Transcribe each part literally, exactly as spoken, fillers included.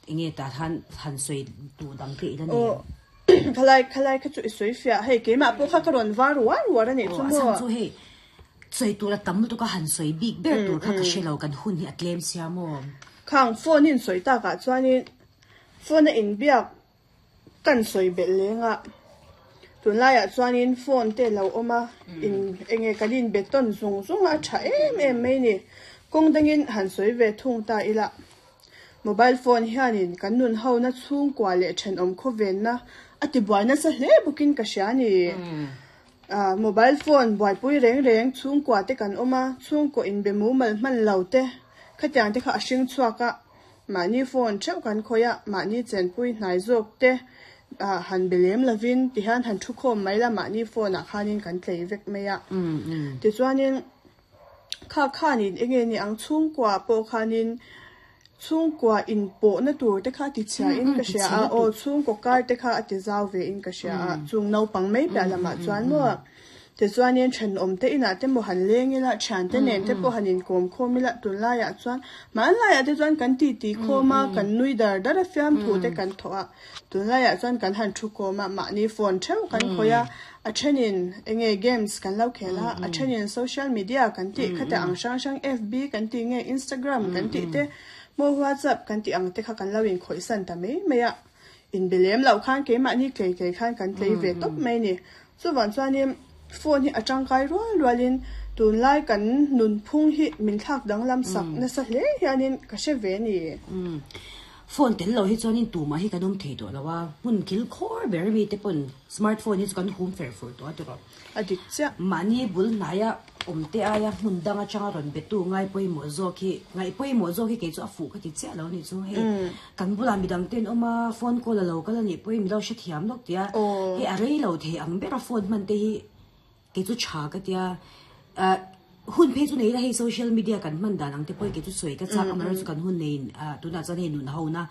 Enge tah khan han sawi duh dang te ila nei em? Khalai khalai kha chu i sawi fiah hei keimah pawh kha ka rawn var uar uar a nih chu Aw a maw. chhan chu hei sawi tur a tam lutuk a han sawi bik ber tur kha ka hre lo kan hun hi a tlem sia maw. Khang phone in sawi takah chuanin phone a inbiak kan sawi belh leng a tunlaiah chuanin phone te lo awm a in enge kan inbe tawn zung zung a a tha em em mai ni kawng dangin han sawi ve thung ta ila mobile phone hianin kan nun ho na chhungkua leh thenawm khawvenna a ti buai nasa hle bawkin ka hria ni ah mobile phone buaipui reng reng chhungkua te kan awm a chhungkaw inbe mumal hman lo te khatiang te kha a hring chhuak a mahni phone theuh kan khawih a mahni chenpui hnai zawk te ah han be lem lovin tihian han thu khawm mai la mahni phone ah khanin kan tlei vek mai a tichuanin kha khanin enge ni ang chhungkua pawh khanin chhungkua inpawhna tur te kha ti chhia in ka hria a aw chhungkaw kar te kha a ti zau ve in ka hria a chung naupang mai piah lamah chuan maw tichuanin thenawm te inah te maw han leng ila thian te nen te pawh han inkawm khawm ila tunlaiah chuan hmanlaiah te chuan kan titi khawm a kan nui dar dar a fiamthu te kan thawh a tunlaiah chuan kan han thu khawm a mahni phone theuh kan khawih a a thenin enge games kan lo khel a a thenin social media kan tih khate ang hrang hrang F B kan tih nge Instagram kan tih te maw WhatsApp kan tih ang te kha kan lo inkhawih san ta mai mai a inbe lem loh khan keimahni tlei tlei khan kan tlei ve tawp mai ni chuvang chuanin phone hi a tangkai rual rualin tunlai kan nunphung hi min thlak danglam sak nasa hle hianin ka hre ve ni. Phone tel lo hi chuanin tumah hi kan awm thei tawh lo a hmun kil khawr ber mi te pawn smartphone hi chu kan hum fer fur tawh a ti rawh. A dik chiah. Mahni bul hnaia awm te aia hmun dang atanga rawn betu ngai pawimawh zawk hi ngaih pawimawh zawk hi kei chu a fuh ka ti chiah lo ni chu hei kan bulah midang ten awm a phone call a lo kal a nih pawhin mi lo hrethiam lawk tia hei a rei lo thei ang bera phone hman te hi kei chu tha ka tia ah hun phei chu nei la hei social media kan hman dan ang te pawh hi kei chu sawi ka chak amaherawh chu kan hun neiin ah tunah chuan hei nun ho na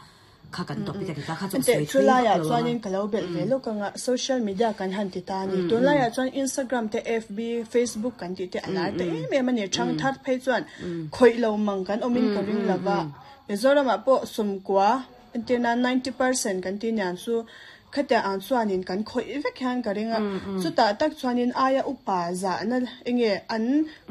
kha kan topic a ti ta kha chu sawi Chu thui laiah vak lo chuanin anga ka lo belh ve lawk anga social media kan han ti ta ni tunlaiah chuan Instagram te F B Facebook kan tih te a lar ta em em a ni thang thar phei chuan khawih lo mang kan awmin ka ring lova Mizoramah pawh sawmkua entirna ninety percent kan ti nian chu khatiang ang chuanin kan khawih vek hian ka ring a chutah tak chuanin aia upa zahna enge an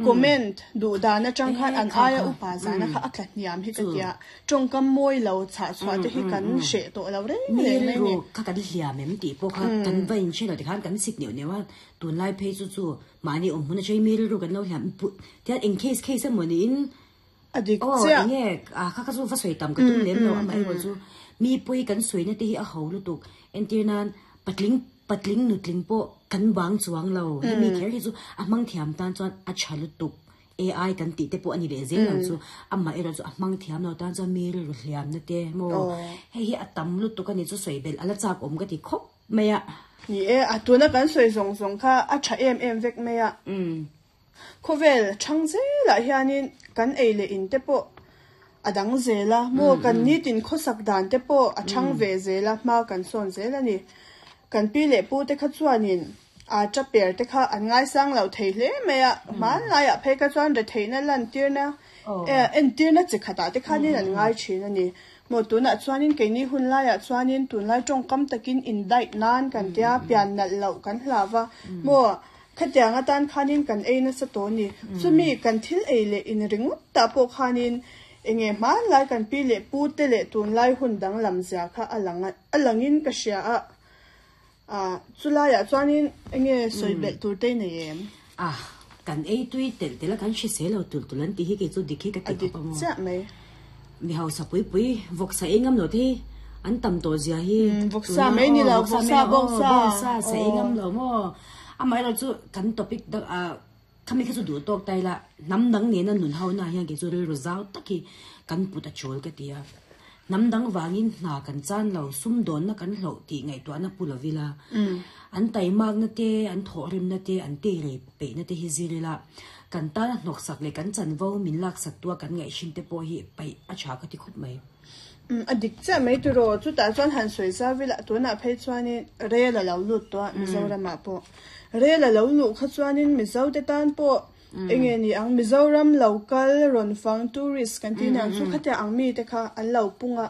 comment duh dan atang khan an aia upa zahna kha a tla hniam hi ka tia tawngkam mawi lo chhah chhuah te hi kan hreh tawh lo reng mi reng mai ni rilru kha kan hliam em tih pawh kha kan va in hre lo tikhan kan sik neuh neuh a tunlai phei chu chu mahni awm hmun atangin mi rilru kan lo hliam tian eng case case emaw niin a dik aw chiah enge a kha kha chu va sawi tam ka tum lem lo amaherawh chu mi pawi kan sawina te hi a ho lutuk entir nan patling patling nutling pawh kan bang chuang lo hemi kher hi chu a hmang thiam tan chuan a tha lutuk A I kan tih te pawh ani leh zel ang chu amaherawh chu a hmang thiam lo tan chuan mi rilru hliam na te maw hei hi a tam lutuk ani chu sawi belh ala chak awm ka ti khawp mai a ni e a tuna kan sawi zawng zawng kha a tha em em vek mai a khawvel thang zelah hianin kan ei leh in te pawh a dang zel a maw kan nitin khawsak dan te pawh a thang ve zel a hma kan sawn zel ani kan pi leh pu te kha chuanin a ta per te kha an ngaisang lo thei hle mai a hmanlaiah phei kha chuan retheihna lan tirna entirna chi khatah te khanin an ngai thin ani maw tunah chuanin keini hun laiah chuanin tunlai tawngkam takin in diet nan kan tia pian nalh loh kan hlava maw khatiang atan khanin kan ei nasa tawh ni chumi kan thil ei leh in ringawt tah pawh khanin enge hmanlai kan pi leh pu te leh tunlai hun danglam zia kha a lang a langin ka hria a ah chulaiah chuanin enge sawi belh tur te nei em ah kan ei tui tel tel a kan hrisel lo tul tul an tih hi kei chu dik hi ka a ti dik khawp ang chiah mai mi hausa pui pui vawksa ei ngam lo te hi an tam tawh zia hi vawksa mai ni lo vawksa bawngsa bawngsa sa ei ngam lo maw amaherawh chu kan topic dak a khami kha chu duh tawk tai la hnam dang nena nun ho na hian kei chu rilru zau tak hi kan put a chawl ka ti a hnam dang wangin hna kan chan lo sum dawn na kan hloh tih ngaihtuahna pu lovila an taimak na te an thawh rim na te an te rei peih na te hi zirila kan tana hnawk sak leh kan chanvo min lak sak tua kan ngaih te pawh hi paih a tha ka ti khawp mai. A dik chiah mai tiraw chutah chuan han sawi zavila tunah phei chuanin rel a lo lut tawh a Mizoramah pawh rel a lo luh kha chuanin Mizo te tan pawh enge ni ang Mizoram local rawn fang tourist kan tih niang chu khatiang ang mi te kha an lo pung a.